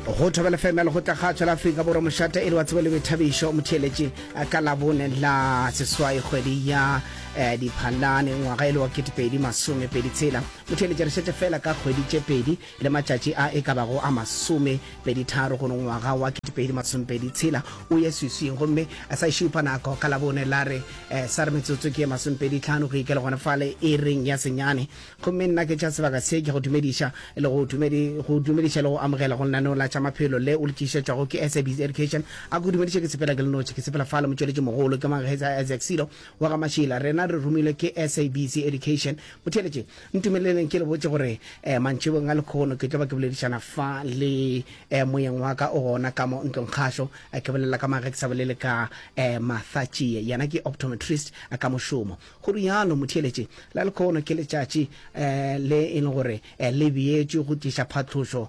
Go Thobela FM ya Lekgotlakgatšo la Afrika Borwa mošate e le wa tsebo le boithabišo motheeletši ka Labone la seswai kgwedi ya eh, Diphalane ngwaga e le wa 2026. Motheeletši re šetše fela ka kgwedi tše pedi le matšatši a e ka bago a masomepeditharo gore ngwaga wa 2026 o ye swiswing gomme sa e šupa nako ka Labone la re eh, sa re metsotso ke ye masomepeditlhano go ikela gona fale iring ya senyane Gomme nna ke tša sebaka se ke go dumediša le go dumedi, go dumediša le go amogela go lenaneo la tša maphelo le o le tlišetšwago ke SABC Education. A ko dumediše ke sepela ke le notši, ke sepela fale motšweletši mogolo ke Mangetsa Isaac Silo wa ga Mašila. Rena re romilwe ke SABC Education. Motheeletši, ntumeleleng ke le botše gore eh, mantšibong a lekhono ke tlo ba ke boledišana fa le eh, moyeng wa ka o gona ka mo ntlong kgašo. Eh, ke bolela ka mang ge ke sa bolele ka eh, Martha Tšie, yena ke optometrist eh, ka mošomo. Go rialo motheeletši, la lekhono ke letšatši le e leng gore le beetšwe go tliša phatlošo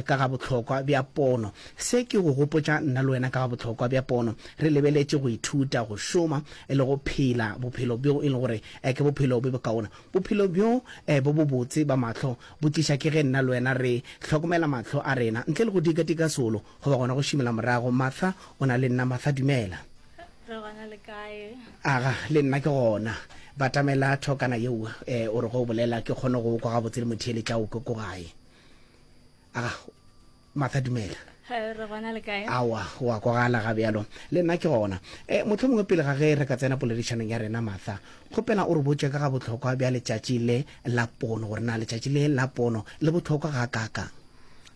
ka ga bohlokwa bja pono. Se ke go gopotša nna le wena ka ga bohlokwa bja pono. Re lebeletše go ithuta, go šoma le go phela bophelo bjo e leng gore ke bophelo bjo bokaone. Bophelo bjo bo bobotse ba mahlo bo tliša ke ge nna le wena re hlokomela mahlo a rena ntle le go dikadika solo goba gona go šimela morago. Martha o na le nna. Martha, dumela. Re gona le kae? Aga, le nna ke gona. Batamela thokana yeo, eh, o re ge o bolela ke kgone go o kwa gabotse le motheeletša o kwe ko gae. Aga, Martha dumela. Re gona le kae? Aowa, o a kwagala ga bjalo. Le nna ke gona. Eh, mohlomongwe pele ga ge re ka tsena poledišanong ya rena, Martha, kgopela o re botše ka ga bohlokwa bja letšatši le la pono, gore na letšatši le la pono le bohlokwa gakaakang.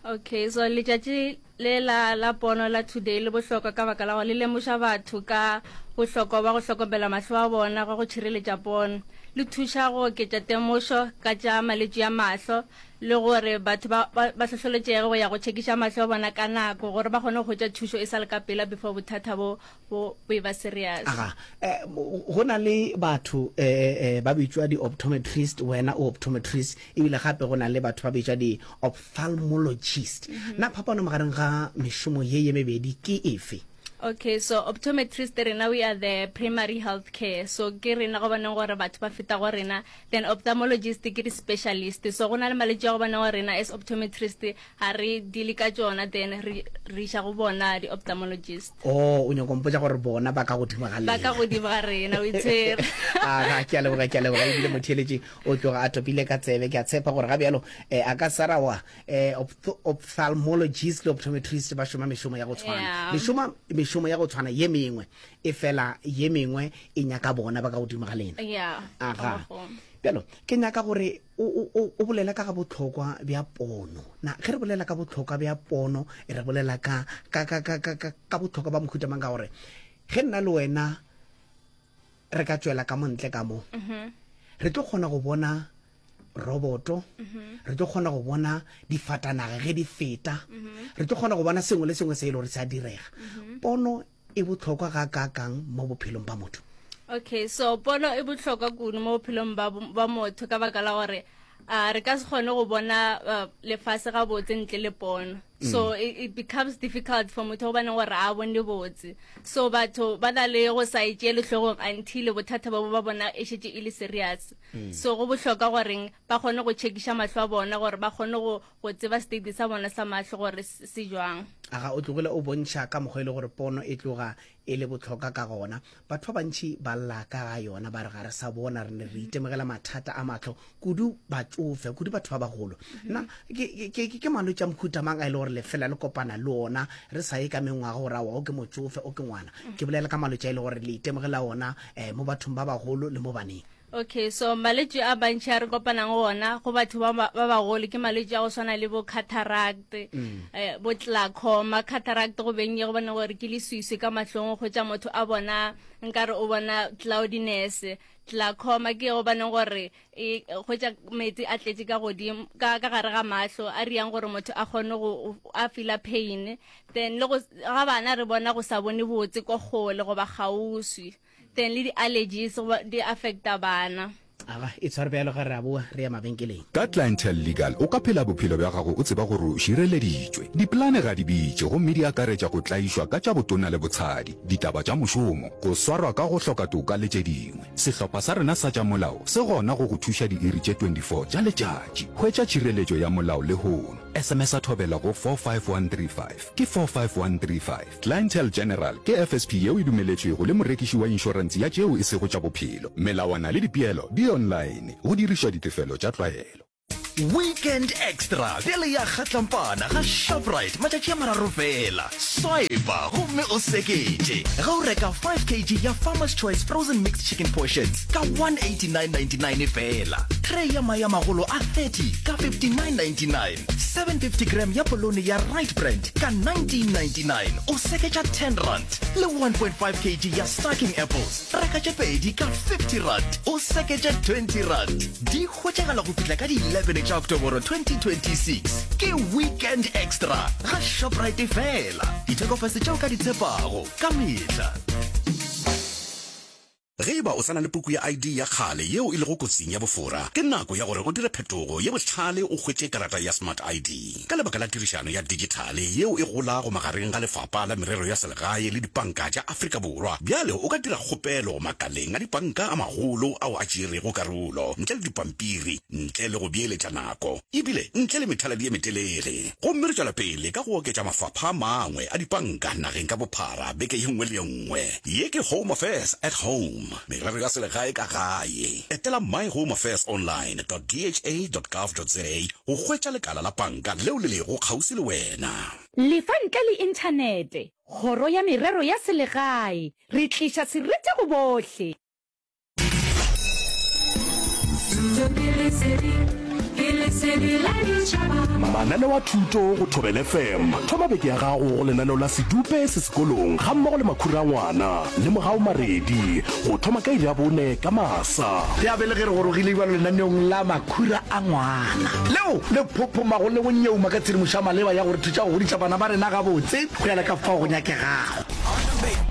Okay, so letšatši Le la la pono la Today le bohlokwa ka baka la gore le lemoša batho ka bohlokwa bja go hlokomela mahlo a bona gwa go tšhireletša pono. Le thuša go oketša temošo ka tša malwetši a mahlo le gore batho ba ba ba hlohleletšege go ya go tšhekiša mahlo a bona ka nako gore ba kgone go hwetša thušo e sa le ka pela before bothata bo bo bo eba serious. Aga, eh, go na le batho eh, eh, ba bitšwa di-optometrist, wena o optometrist, ebile gape go na le batho ba bitšwa di-ophthalmologist. Mm -hmm. Na phapano magareng ga mešomo ye ye mebedi ke efe? Okay, so optometrist rena we are the primary health care. So ke rena go boneng gore batho ba feta go rena. Then ophthalmologist ke di specialist. So go na le malwetši a go boneng gore rena as optometrist ga re deale ka tšona then re re iša go bona di-ophthalmologist. Oh, o nyako mpotša gore bona ba ka godimo ga Ba ka lena. godimo ga rena, o itshwere. Aga, ke a leboga, ke a leboga. Ebile motheeletši o tloga a topile ka tsebe. Ke a tshepa gore ga bjalo eh, a ka sa ra wa eh, ophthalmologist le optometrist ba šoma mešomo ya go tshwana. Yeah. Le šoma mešomo ya go tshwana ye mengwe, e fela ye mengwe e nyaka bona ba ka godimo ga lena. Yeah. Aga. Ka mokgwa. Bjalo, ke nyaka gore O, o, o, o bolela ka ga bohlokwa bja pono. Na ge re bolela ka bohlokwa bja pono, re bolela ka, ka, ka, ka, ka, ka, ka bohlokwa ba mohuta mang? Ka gore ge nna le wena re ka tšwela ka mo ntle ka mo, re tlo kgona go bona roboto, re tlo kgona go bona difatanaga ge di feta, re tlo kgona go bona sengwe le sengwe se e le gore se a direga. Pono e bohlokwa gakaakang mo bophelong ba motho? Okay, so pono e bohlokwa kudu mo bophelong ba, ba motho ka baka la gore uh, re ka se kgone go bona uh, lefase gabotse ntle le pono. So mm. it, it becomes difficult for motho gobane gore a bone botse. So batho ba na le go sa e tšeele hlogong until bothata ba bo ba bona e šetše e le serious. Mm. So go bohlokwa goreng ba kgone go tšhekiša mahlo a bona gore ba kgone go go tseba state sa bona sa mahlo gore se jwang. Aga o tlogile o bontšha ka mokgwa e le gore pono e tloga e le bohlokwa ka gona. Batho ba bantši ba lla ka ga yona, ba re ga re sa bona, re ne re itemogela mathata a mahlo, kudu batšofe, kudu batho ba bagolo. Na ke, ke, ke, ke malwetši a mohuta mang a e le gore le fela le kopana le ona re sa ye ka mengwaga gore aowa o ke motšofe, o ke ngwana? Ke bolela ka malwetši a e le gore le itemogela ona um mo bathong ba bagolo le mo baneng. Okay, so malwetši a mantši a re kopanang go ona go batho ba ba bagolo ke malwetši a go swana le bo cataract, mm. eh, bo glaucoma. Cataract go beng ye go bona gore ke leswiswi ka mahlong go tša motho a bona nkare o bona cloudiness. Glaucoma ke go baneng gore e hwetša metsi a tletše ka godimo ka ka gare ga mahlo a riang gore motho a kgone go a feela pain. Then le go ga bana re bona go sa bone botse ko kgole goba kgauswi. Then le di-allergies di affecta bana. Aga, e tshware bjalo ge re a boa re ya mabenkeleng. Ka Clientele Legal o ka phela bophelo bja gago o tseba gore o šireleditšwe. Dipolane ga di bitše gomme di akaretša go tlaišwa ka tša botona le botshadi, ditaba tša mošomo, go swarwa ka go hloka toka le tše dingwe. Sehlopha sa rena sa tša molao se gona go go thuša diiri tše 24 tša letšatši. Hwetša tšhireletšo ya molao lehono. SMS-a Thobela go 45135. Ke 45135. Clientele General ke FSP yeo e dumeletšwego le morekiši wa inšorense ya tšeo e sego tša bophelo. Melawana le dipeelo di online, go dirišwa ditefelo tša tlwaelo. Weekend Extra bjale ya kgatlampana ga Shoprite matšatši a mararo fela. Swipa gomme o seketše ge o reka 5 kg ya Farmer's Choice Frozen Mixed Chicken Portions ka 189.99 fela. Tray ya mae a magolo a 30 ka 59.99. 750 gram ya polone ya Right Brand ka 1999 o seketša 10 rand le 1.5 kg ya Starking Apples reka tše pedi ka 50 rand o seketša 20 rand. Di hwetšagala go fihla ka di 11 tša Oktoboro 2026. Ke Weekend Extra ga Shoprite fela. Dithekofase tše o ka di tshepago ka mehla. Ge e ba o sa na le puku ya ID ya kgale yeo e lego kotsing ya bofora, ke nako ya gore o dire phetogo ye bohlale o hwetše karata ya Smart ID. Ka lebaka la tirišano ya dijithale yeo e golago magareng ga Lefapha la Merero ya Selegae le dipanka tša Afrika Borwa, bjale o ka dira kgopelo makaleng a dipanka a magolo ao a tšeerego karolo ntle le dipampiri, ntle le go beeletša nako e bile ntle le methaladi ye metelele. Gomme re tšwela pele ka go oketša mafapha a mangwe a dipanka nageng ka bophara beke ye nngwe le ye nngwe. Ye ke Home Affairs at Home, merero ya selegae ka gae. Etela myhomeaffairsonline dot dha dot gov dot za go hwetša lekala la panka leo le lego kgauswi le wena. Lefa ntle le inthanete. Kgoro ya Merero ya Selegae, Re tliša seriti go bohle. Mananeo a thuto go Thobela FM. Thoma beke ya gago go lenaneo la Sedupe se sekolong gammogo le Makhura a Ngwana le Mogau Maredi go thoma ka iri ya bone ka masa. Ya be le ge re gorogile bjalo lenaneong la Makhura a Ngwana, leo le phophomago le go nyeuma ka tshedimošo ya maleba ya go re thuša go godiša bana ba rena gabotse go ya le ka fao go nyakegago.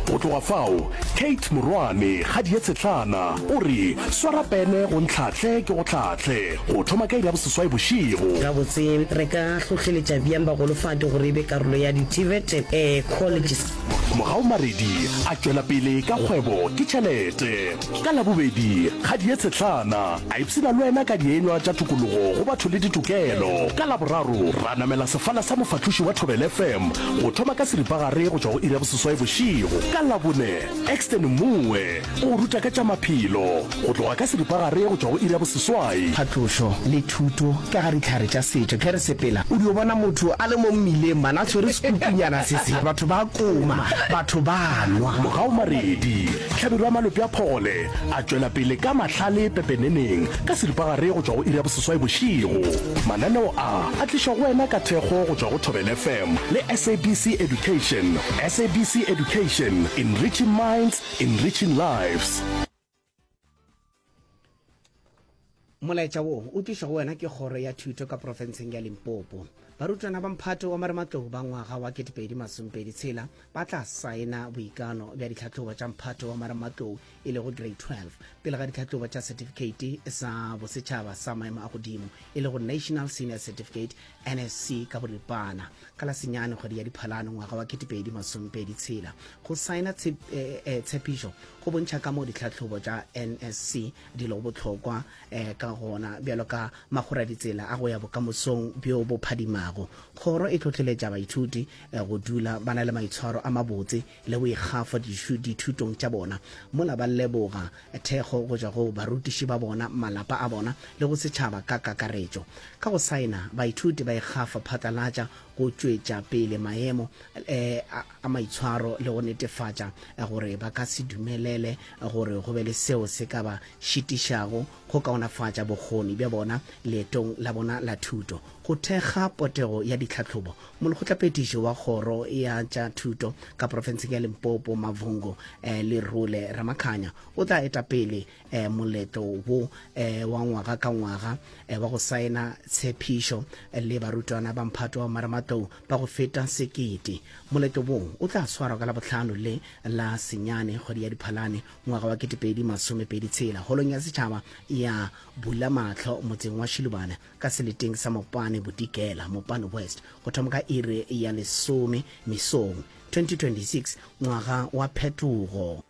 Go tloga fao, Kate Morwane, kgadi ye tshehlana, o re, Swara pene go ntlhahle ke go hlahle, go thoma ka iri ya boseswai bošego. Gabotse, re ka hlohleletša bjang bagolofadi gore e be karolo ya di-TVET colleges? Mogau Maredi a tšwela pele ka kgwebo ke tšhelete. Ka Labobedi, kgadi ye tshehlana a ipshina le wena ka dienywa tša tokologo go batho le ditokelo. Ka Laboraro, ra namela sefala sa mofahloši wa Thobela FM go thoma ka seripagare go tšwa go iri ya boseswai bošego. Ka Labone, Exton Mmuwe o go ruta ka tša maphelo go tloga ka seripagare go tšwa go iri ya boseswai. Phatlošo le thuto ka ga dihlare tša setšo. Ge re sepela o dio bona motho a le mo mmileng man a tshwere sekukunyana se se, batho ba koma, batho ba nwa. Mogau Maredi, Hlabirwa Malope a Phogole a tšwela pele ka mahlale pepeneneng ka seripagare go tšwa go iri ya boseswai bošego. Mananeo a a tlišwa go wena ka thekgo go tšwa go Thobela FM le SABC Education. SABC Education, enriching minds, enriching lives. Molaetša wo o tlišwa go wena ke Kgoro ya Thuto ka profenseng ya Limpopo. Barutwana ba mphato wa marematlou ba ngwaga wa 2026 ba tla saena boikano bja ditlhahlobo tša mphato wa marematlou e lego Grade 12 pele ga ditlhahlobo tša setifikeiti sa bosetšhaba sa maemo a godimo e lego National Senior Certificate NSC ka boripana ka la senyane kgwedi ya Diphalane ngwaga wa 2026. Go saena tshepišo go bontšha kamoo ditlhahlobo tša NSC di lego bohlokwa ka gona bjalo ka magoraditsela a go ya bokamosong bjo bo phadimago. Kgoro e hlohleletša baithuti go dula ba na le maitshwaro a mabotse le boikgafo dithutong tša bona, mola ba leboga thekgo go tšwa go barutiši ba bona, malapa a bona le go setšhaba ka kakaretšo. Ka go saena, baithuti ba ikgafa phatlalatša go tšwetša pele maemo a maitshwaro le go netefatša gore ba ka se dumelele gore go be le seo se ka ba šitišago go kaonafatša bokgoni bja bona leetong la bona la thuto. Go thekga potego ya ditlhahlobo, Molekgotlaphethiši wa Kgoro ya tša Thuto ka profenseng ya Limpopo, Mavhungu Lerule Ramakhanya o tla eta pele moletlo wo wa ngwaga ka ngwaga wa go saena tshephišo le barutwana ba mphato wa marematlou ba go feta sekete. Moletlo wo o tla swarwa ka Labohlano le la senyane kgwedi ya Diphalane ngwaga wa 2026 Holong ya Setšhaba ya Bulamahlo motseng wa Shilubane ka seleteng sa Mopane Bodikela, Mopane West, go thoma ka iri ya lesome mesong. 2026 Ngwaga wa Phetogo.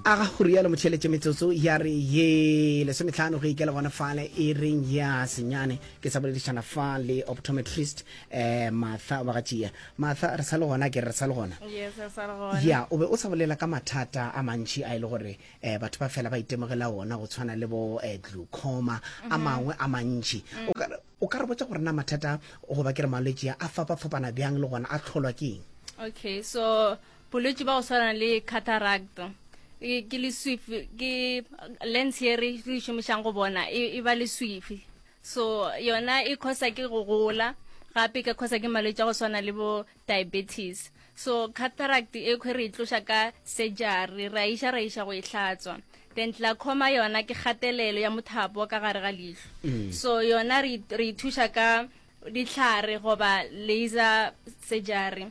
A ga go rialo motheeletše metsotso ya re ye lesometlhano go ikela gona fale e reng ya senyane ke sa boledišana fa le optometrist eh Martha wa ga Martha re sa le gona ke re sa le gona Yes, re sa le gona. ya o be o sa bolela ka mathata a mantši a e le gore eh batho ba fela ba itemogela ona go tshwana le bo eh, glaucoma a mangwe a mantši o ka o ka re botša gore na mathata goba ke re malwetši a a fapafapana bjang le gona a tlholwa ke eng Okay, so bolwetši ba go swana le cataract e- ke leswifi ke lens ye re re e šomišang go bona e e ba leswifi So yona e khosa ke go gola, gape e ka khosa ke malwetši a go swana le bo diabetes. So cataract e khwe re e tloša ka surgery, ra iša ra iša go e hlatswa. Then glaucoma yona ke kgatelelo ya mothapo wa ka gare ga leihlo. Mm. So yona re re thuša ka dihlare goba laser surgery.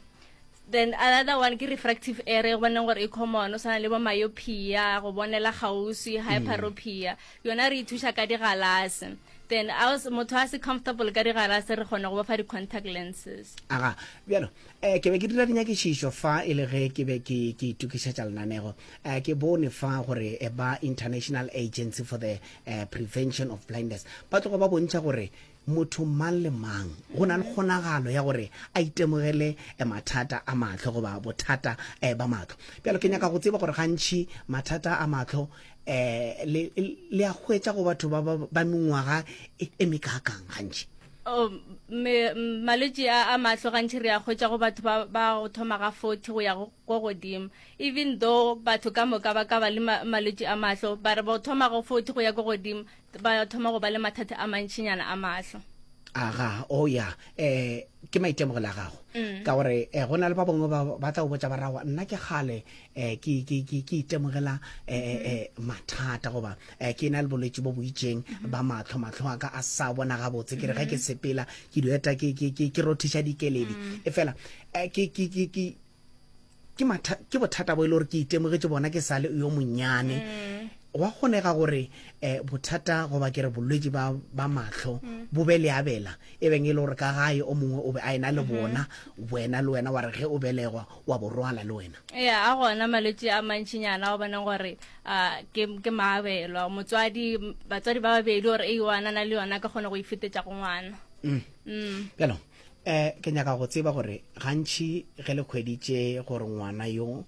Then another one ke refractive error, go boneng gore e common, o swana le bo myopia, go bonela kgauswi, hyperopia. Yona re ithuša ka digalase. Then a motho a se comfortable ka digalase re kgona go ba fa di-contact lenses. Aga, bjalo, eh, ke be ke dira dinyakišišo fa e le ge ke be ke ke itokišetša lenanego. Eh, ke bone fa gore eh, ba International Agency for the eh, Prevention of Blindness ba tloga ba bontšha gore Motho mang le mang go na le kgonagalo ya gore a itemogele mathata a mahlo goba bothata ba mahlo. Bjalo ke nyaka go tseba gore gantši mathata a mahlo um le le a hwetša go batho ba ba mengwaga e mekaakang gantši? Oh, me, malwetši a, a mahlo gantši re a hwetša go batho ba, ba go thoma ga 40 go ya go, ko godimo. Even though batho ka moka ba ka ba le ma, malwetši a mahlo, ba re ba go thoma go 40 go ya ko godimo, ba thoma go ba le mathata a mantšinyana a mahlo. Aga, oh ya, eh, ke maitemogelo a gago. Mm. Ka gore eh, go na le ba bangwe ba ba tla go botša ba rawa nna ke kgale eh, ke, ke, ke, ke itemogela eh, mm -hmm. eh, mathata goba eh, ke na le bolwetši bo bo itšeng mm -hmm. ba mahlo, mahlo a ka a sa bona gabotse, ke re ge ke mm-hmm. sepela ke dieta ke, ke, ke, ke rothiša dikeledi mm. e fela eh, ke, ke, ke, ke, ke matha, ke bothata bo e le gore ke itemogetše bona ke sa le yo monnyane mm. gwa kgonega gore um bothata goba ke re bolwetši ba, ba mahlo mm. bo be leabela e beng e le gore ka gae o mongwe o be a ena le mm -hmm. bona wena le wena wa re ge o belegwa wa bo rwala le wena ya a gona malwetši a mantšinyana o boneng gore uh, ke, ke maabelwa motswadi batswadi ba babedi gore e one na le yona ka kgona go ifetetša go ngwana mm. mm. bjalo Eh, ke nyaka go tseba gore gantši ge le hweditše gore ngwana yo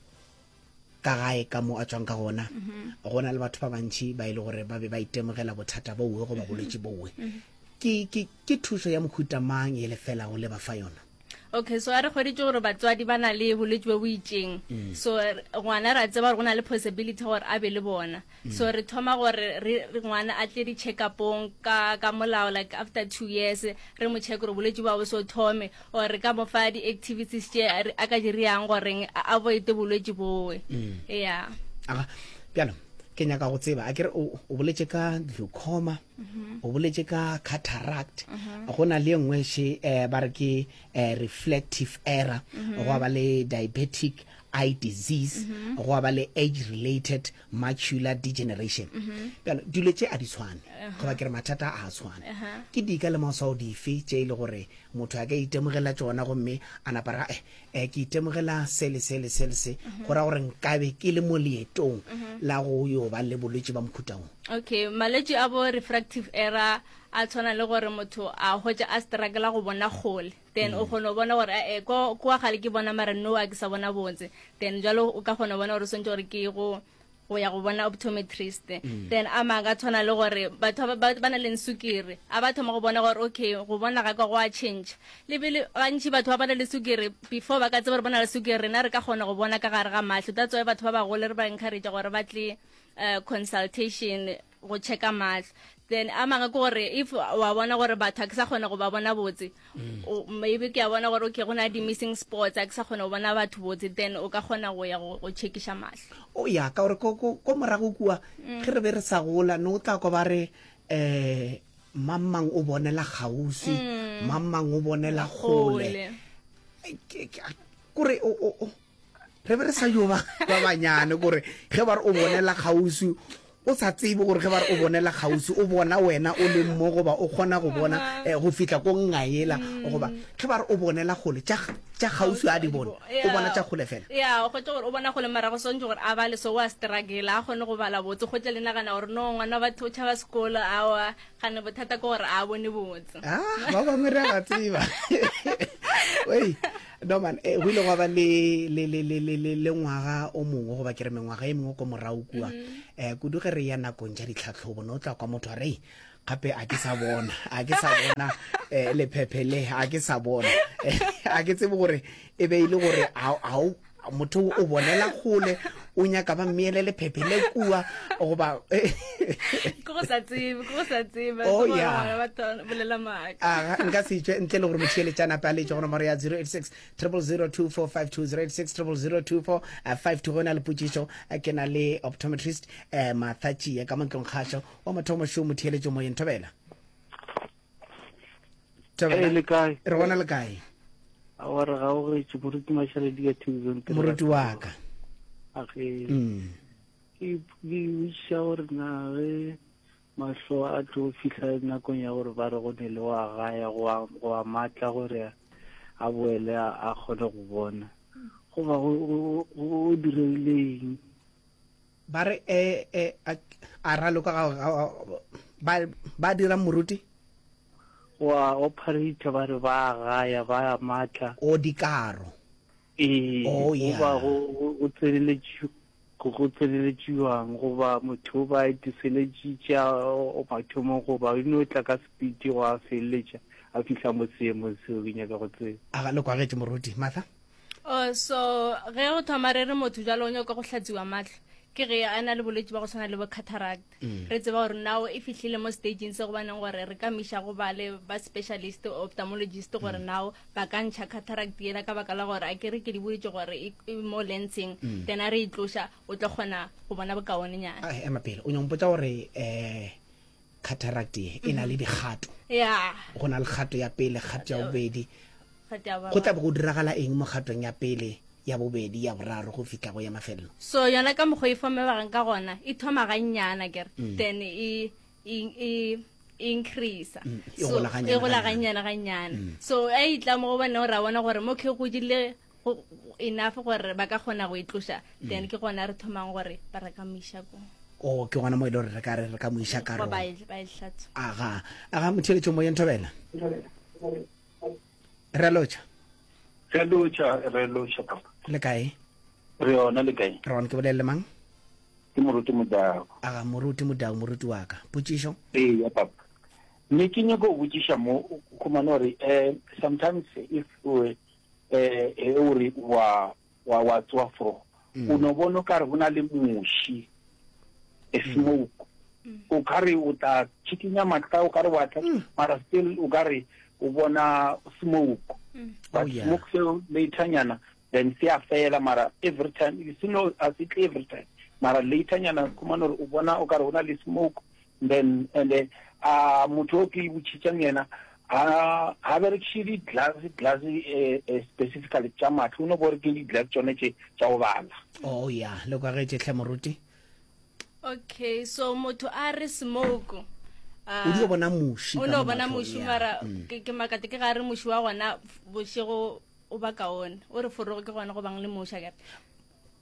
ka gae ka mo a tswang ka gona mhm. go na le batho ba bantši ba e le gore ba be ba itemogela bothata bowe goba mhm. bolwetši bowe mhm. ke, ke, ke thušo ya mohuta mang ye le felago le ba fa yona okay so a re kgweditše gore batswadi ba na le bolwetši bo bo itšeng mm. so ngwana re a tseba gore go na le possibility gore a be le bona Mm. So re thoma gore re ngwana a tle di check upong ka ka molao like after 2 years re mo check gore bolwetši ba bo so thome or re ka mo fa di activities tše a ka di riang gore a avoid bolwetši bowe. Mm. Yeah. Aga bjalo ke nyaka go tseba a kere o boletše ka glaucoma mm -hmm. o boletše ka cataract mm -hmm. go na le nngwe še eh, ba re ke eh, reflective error mm -hmm. go ba le diabetic eye disease mm -hmm. go ba le age related macular degeneration bjalo dilo tše a di tshwane goba ke re mathata a a tshwane ke dika le maswao dife tše e le gore motho a ka itemogela tšona gomme a napa ra eh, eh ke itemogela se le se le se le se go ra gore nkabe ke le mo leetong la go yo ba le bolwetši ba mohuta wo okay malwetši a bo refractive error a tshwana le gore motho a hwetša a struggle go bona kgole then o kgona go bona gore eh ko kwa gale ke bona mara no a ke sa bona botse then jalo o ka kgona go bona gore swantse gore ke go go ya go bona optometrist mm. then a manga tshwana le gore batho ba ba na le sukiri a ba thoma go bona gore okay go bona ga ka go a change le bile gantši batho ba ba na le sukiri before ba ka tseba gore ba na le sukiri rena re ka kgona go bona ka gare ga mahlo that's why batho ba bagolo re ba encourage gore ba tle. uh, consultation go checka mahlo then a mangwe ke gore if wa bona gore batho a ke sa kgona go ba bona botse mm. maybe ke a bona gore okay go na di-missing sports a ke sa kgona go bona batho botse then o ka kgona go ya go checkiša mahlo o ya ka gore ko morago kua mm. ge re be re sa gola ne o tla kwa ba re um mang mang o bonela kgauswi mm. mang mang o bonela kgole kore re be re sa yo ba ba banyane kore ge ba re o bonela kgauswi o sa tsebe gore ge ba re o bonela kgauswi o bona wena o leng mo goba o kgona go bona eh, go fihla ko ngaela mm. goba ge ba re o bonela kgole tša kgauswi a di bone o bona tša kgole fela ya o kgotse gore o bona kgole mara go swantse gore a bale so wa struggle a kgone go bala botse kgotse le nagana gore no ngwana batho o tšhaba sekolo awa Gane bothata ke gore a bone botse. Ah, ba bangwe re a ba tseba. Oi, no man, eh, go ile gwa ba le le le le le le le ngwaga o mongwe goba ke re mengwaga e mengwe ko morago kua. Mm-hmm. Eh, kudu ge re ya nakong tša ditlhatlhobo no tla kwa motho a re gape a ke sa bona a ke sa bona eh lephephe le a ke sa bona eh, a ke tsebe gore e be e le gore a motho o bonela kgole o nyaka ba mmeele lephephe le kua goba ke go sa tsebe ke go sa tsebe oh, yeah. bolela maaka ah, nka se tšwe ntle le gore motheeletša nape a letše go nomoro ya 086 0002452 086 0002452 go na le potšišo eh, ke na le optometrist eh, Martha Tšie ka montlong kgašo wa mothomo šo motheeletšo moyeng thobela Ee, le kae? Re gona le kae? Aowa re gaogetše moruti Mašaledi ka Tucson. Moruti wa ka. Age. Mm. Ke ke botšiša gore na ge mahlo a tlo fihla nakong ya gore ba re go ne le wa gaya go a go a matla gore a boele a kgone go bona goba go go diregile eng ba re e e a raloka ga ba ba dira moruti Wa operator ba re ba gaya ba matla. O dikaro. Ee, oh, yeah. goba go go tseneletše go tseneletšiwang goba motho ba etiseletšitše o mathomong goba o no tla ka speed go a feleletša a fihla mo seemong seo ke nyaka go tseba. A ga le kwagetše moruti Martha? Oh, so ge go thoma re re motho jalo o nyaka go hlatsiwa matlho ke ge a na le bolwetse ba go tshwana le bo cataract mm. re tseba gore now e fihlile mo stageng se gobaneng gore re ka miša go ba le ba specialist ophthalmologist gore mm. now ba ka ntšha cataract yela ka baka la gore a ke re ke di boditše gore e, e mo lenseng mm. then a re e tloša o tlo kgona go bona bokaonenyana ema pele o nyampotsa gore um cataract ye e na le dikgato yeah go na le kgato ya pele kgato ya bobedi go tla be go diragala eng mo kgatong ya pele ya bobedi ya boraro go fihla go ya mafelelo so yona ka mokgwa e fomebagang ka gona e thoma gannyana kere mm. then e, e, e increase mm, e gola gannyana gannyana mm. so a e tla mo go bone ra bona gore mo ke godile enough gore ba ka kgona go e tloša mm. then ke gona re thomang gore ba re ka mo iša ko o ke gona mo e le gore re ka re re ka mo iša ka ba e, ba e hlatswa aga aga motheletšo moyeng thobela re lotšha re lotšha re lotšha papa le kae re yona le kae re gona ke bolelele mang ke moruti modao aga moruti modao moruti wa ka potšišo ee ya papa ne ke nyako go botšiša mo khumane gore um sometimes if um eh o re wa wa wa tswa fro mm. o no bona o kare go na le muši a mm. smoke mm. o kare o tla chikinya mahla o kare wa tla mm. mara still o kare o bona smoke mm. but oh, yeah. smoke seo later nyana then se a fela mara every time you see no a se tle every time mara later nyana khumana gore o bona o kare o na le smoke then and eh, a motho o ke botšhitšang yena ha ha berekiše di-glass glass eh, eh, specifically tša matlho o no bore ke di-glass tšone tše tša go bala oh ya le kwagetše tlhe moruti okay so motho a re smoke o dio bona muši o no bona muši mara mm. ke makate ke ga re muši wa gona bošego o ba kaone o re forogo ke gona go bang le muši akere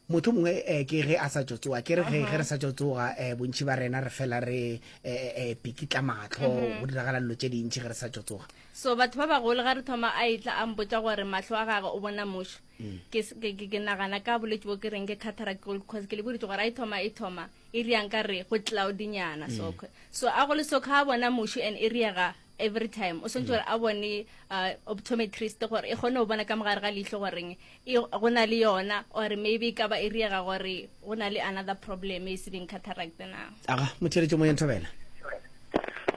Motho mongwe eh, ke ge a sa tšo tsoga ke re ge ge re sa tšo tsoga eh, bontši ba rena re fela re eh, eh, pikitla mahlo go diragala dilo tše dintši ge re sa tšo tsoga so batho ba bagolo ga re thoma a etla a mpotsa gore mahlo a gagwe o bona mošo ke s- ke ke- ke nagana ka bolwetse bo ke reng ke cataract because ke le boditse gore a e thoma e thoma e riang ka re go cloudynyana so so a go le so kha a bona mošo and e riega every time o swantse gore a bone uh, optometrist gore e kgone go bona ka mogare ga leihlo goreng e go na le yona or maybe e ka ba e riega gore go na le another problem e se beng cataract na. Aga, motheeletši moyeng Thobela.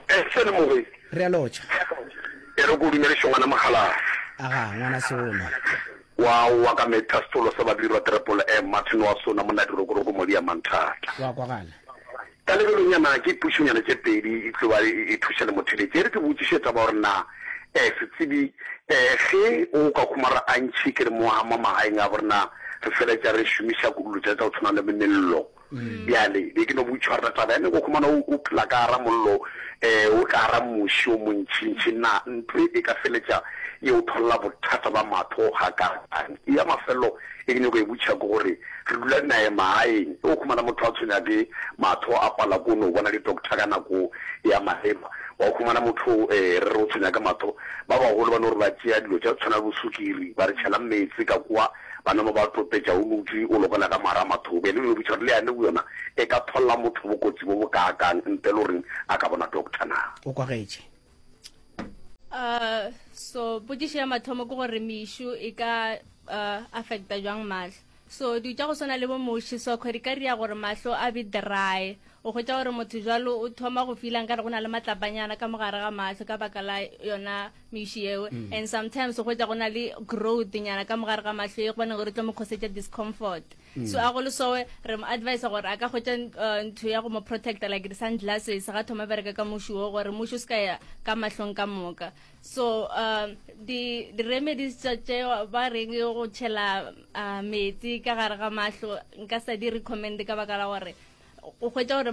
Eh, sele moge. Re a lotšha. E re ko dumediše ngwana Mokgalase. Aga, ngwana Seolo. Wa wa ka metha setolo sa Babirwa Triple M, Martin wa Sona, monna Dirokoroko Modia Manthata. Wa kwagala. Ka lebelonyana ke pušonyana tše pedi e tlo ba e thuša le motheletši. E re ke botšiše taba gore na eh setsebi eh ge o ka khumara a ntšhi ke re mo mo magaeng a borena re feletša re šomiša kudu tša tša go tshwana le mello. Bjale be ke no botšiša gore na taba ya ne go khumana o phela ka gara mollo eh o ka gara muši o montšintši na ntho e ka feletša e o tholla bothata ba mahlo gakaakang. Ya mafelelo e ke nyako e botšiša ke gore Re dula naye magaeng. Ge o humana motho a tshwenya ke mahlo a pala ko no bona di-doctor ka nako ya maleba. Wa humana motho re re o tshwenya ke mahlo, ba bagolo ba no re ba tšea dilo tša tshwana le bo sukiri ba re tšhela meetse ka kwa ba nama ba topetša o dutše o lokela ka mara mahlo. Bjale o botša gore le yane yona e ka tholla motho bokotsi bo bo kaakang ntle le goreng a ka bona doctor na. O kwagetše. Uh, so potšišo ya mathomo ke gore mešu e ka uh, affecta jwang mahlo so dilo tša go swana le bo moši so di ka ria gore mahlo a be dry o hwetša gore motho jalo o thoma go feela nkare go na le matlapanyana ka mogare ga mahlo ka baka la yona meši eo mm. and sometimes o hwetša go na le growth nyana ka mogare ga mahlo e gobane gore tlo mo khosetša discomfort mm. so a go le sowe re mo advise gore a ka hwetša uh, ntho ya go mo protecta like di-sunglasses ga thoma bereka ka moši wo gore moši o se ka ya ka mahlong ka moka so uh, di di-remedies tša tše ba reng go tšhela uh, metsi ka gare ga mahlo nka sa di recommend ka baka la gore o hwetša gore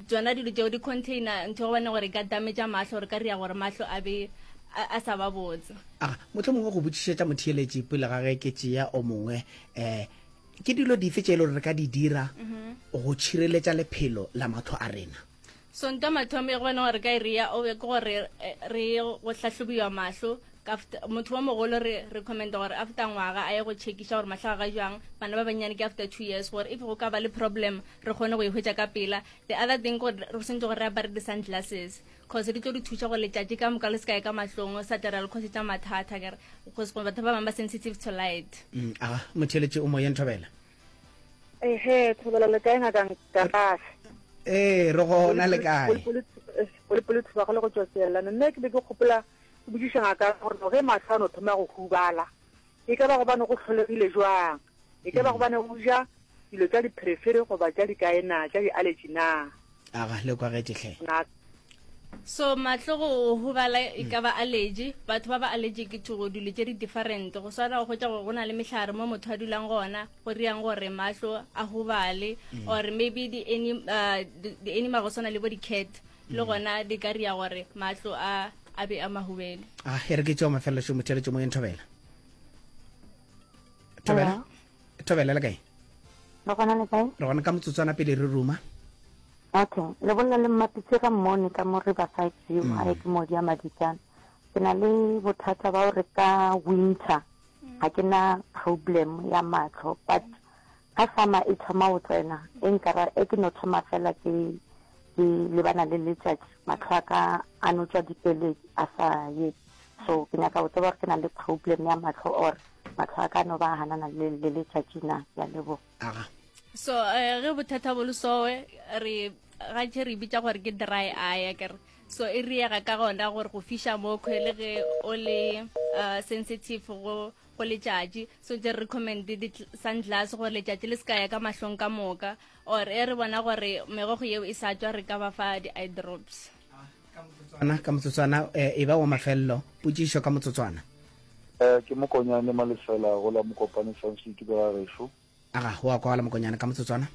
tsona dilo tšeo di container ntho gobane gore e ka damage mahlo gore ka ria gore mahlo a be a sa ba botse a motlho mongwe go botšišetša motheeletši pele ga ge ke tšea o mongwe um ke dilo dife tše e le gore re ka di dira mhm. go tšhireletša lephelo la mahlo a rena so nto mathomo e gobane gore ka e ria o ke gore eh, re go hlahlobiwa mahlo motho wa mogolo re recommenda gore after ngwaga a ye go checkiša gore mahlo a ga jwang bana ba bannyane ke after two years gore if go ka ba le problem re kgone go e hwetša ka pela the other thing gore re swanetse gore re apare di-sunglasses cause di tlo di thuša gore letšatši ka moka le se kae ka mahlong sa tlera le khosetša mathata kere cause batho ba bangwe ba sensitive to light mm, aga motheletše o moyeng thobela Ehe, thobela le kae ngaka Nkalafe? Ee, re gona le kae? Polepole thuba go le go tšwa seelane. Nna ke be ke gopola ke botšiša ngaka gore no ge mahlo a no thoma go hubala e ka ba gobane go hlolegile jwang? E ka ba mm. gobane o ja dilo tša dipherefere goba tša dikae na, tša di-allergy na? Aga, le kwagetše hle. Ngaka. So mahlo go hubala e ka ba allergy, batho ba ba allergic to go dilo tše di different. Go swana go hwetša gore go na le mehlare mo motho a dulang gona, go riang gore mahlo a hubale mm. or maybe di any uh, di animal go swana le bo di cat le mm. gona di ka ria gore mahlo a a be a mahubele. Ah, e re ke tšeo mafelelo šo motheletšo moyeng thobela. Thobela. Thobela le kae? Re gona le kae? Re gona ka motsotswana pele re ruma. Okay, le bolela le Mmapitse ga Mmone ka mo Riverside View, mm. gae ke modi ya Madikana. Ke na le bothata ba gore ka winter ga ke na problem ya matlho but ga summer e thoma go tsena e nkara e ke no thoma fela ke ke lebana le letšatši matlho a ka a no tšwa dipeledi a sa ye so ke nyaka go tseba gore ke na le problem ya matlho or matlho a ka no ba hanana le le letšatši na ke a leboga aga so eh, ge bothata bo le sowe re gantši re bitša gore ke dry eye akere so e riega ka gona gore go fiša mo kgwe le ge o le uh, sensitive go go letšatši so tse re recommend di-sunglass gore letšatši le se ka ya ka mahlong ka moka or e re bona gore megogo yeo e sa tšwa re ka ba fa di-eye drops motsotswana ka motsotswana eh, e ba wa mafelelo potšišo ka motsotswana Eh, ke mokonyane malefela go la mokopane sansutu ka ga gešo aga wa kwala mokonyane ka motsotswana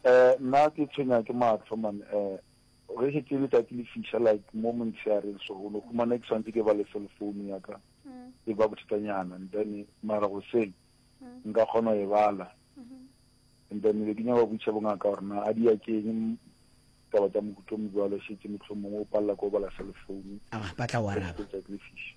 eh nna ke tshwenya ke matlho man eh ge šetse letsatsi le fiša like mo montsheareng so o no humana ke tshwanetse ke ba le cell phone ya ka mm. e ba bothatanyana and then mara goseng mm. nka kgona go e bala mm-hmm. and then be ke nyaka go botšiša bongaka gore na a di ya keng taba tša mohuta o mobjalo šetše mohlomongwe o palela ko bala cell phone aga ba tla o araba letsatsi le fiša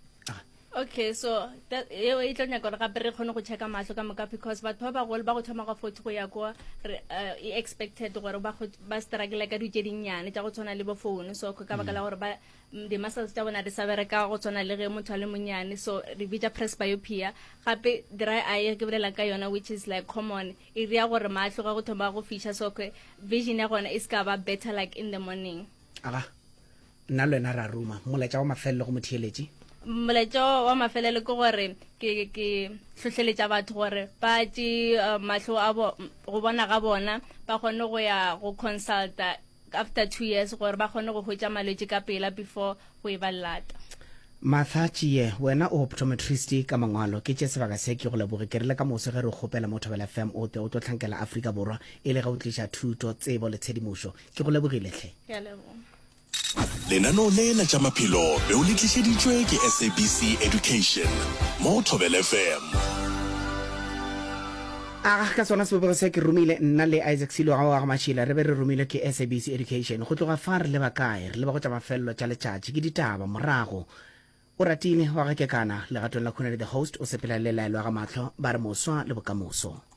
Okay, so that eo e tlo nyaka gore gape re kgone go checka mahlo ka moka because batho ba bagolo ba go thoma ga 40 go ya kwa re eh, e expected gore ba go- ba struggle ka dilo tše dinnyane tša go tshwana le bo phone so ka baka la gore ba mm, di-muscles tša bona di sa bereka go tshwana le ge motho a le monnyane so re bitša presbyopia gape dry eye ke bolela ka yona which is like common e ria gore mahlo ga go thoma go fiša so vision ya gona e se ka ba better like in the morning Aga. Nna le wena ra ruma. Molaetša wa mafelelo go motheeletši? Molaetša wa mafelelo ke gore ke ke hlohleletša batho gore ba tše eh, mahlo a bo go bona ga bona ba kgone go ya go consulta after two years gore ba kgone go hwetša malwetši ka pela before go e ba lata. Martha Tšie, wena o optometrist ka mangwalo. Ke tše sebaka se ke go leboge. Ke rile ka moso ge re o kgopela mo Thobela FM o tle o tlo hlankela Afrika Borwa e le ge o tliša thuto, tsebo le tshedimošo. Ke go lebogile hle. Ke a leboga. Lenaneo le la tša maphelo be o le tlišeditšwe ke SABC Education mo go Thobela FM. Aga, ka sona sebopego se ke romile nna le Isaac Siloga wa ga Mashila re be re romilwe ke SABC Education. Go tloga fa re leba kae? Re leba go tša mafelelo tša letšatši. Ke ditaba morago. O ratile wa ga Kekana legatong la Khunadi the host o sepela le Laelo ya ga Mahlo ba re moswa le bokamoso.